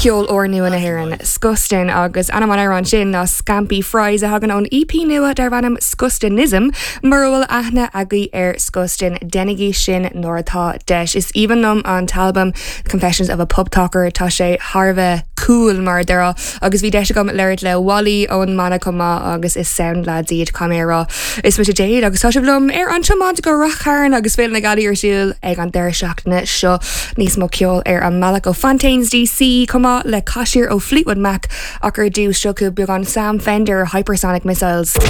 Ceol úrnua na hÉireann, Skustin, agus ainm an amhráin sin ná Scampi Fries a thagann ón EP nua darb ainm Skustinism. Mura bhfuil aithne agaibh ar Skustin, déanaigí sin nuair atá deis. Is aoibhinn liom an t-albam Confessions of a Pub Talker, tá sé thar a bheith cool mar a déarfá agus bhí deis agam labhairt le Wally ón mbanna chomh maith agus is sound lads iad, caithfidh mé a rá. Is mise Jade agus tá sibh liom ar an tiomáint go Rath Chairn agus Féile na Gealaí ar siúl ag an deireadh seachtaine seo. Níos mó ceoil ar an mbealach ó Fontaines DC chomh maith le Cashmere ó Fleetwood Mac ach ar dtús seo chugaibh beagán Sam Fender, Hypersonic Missiles.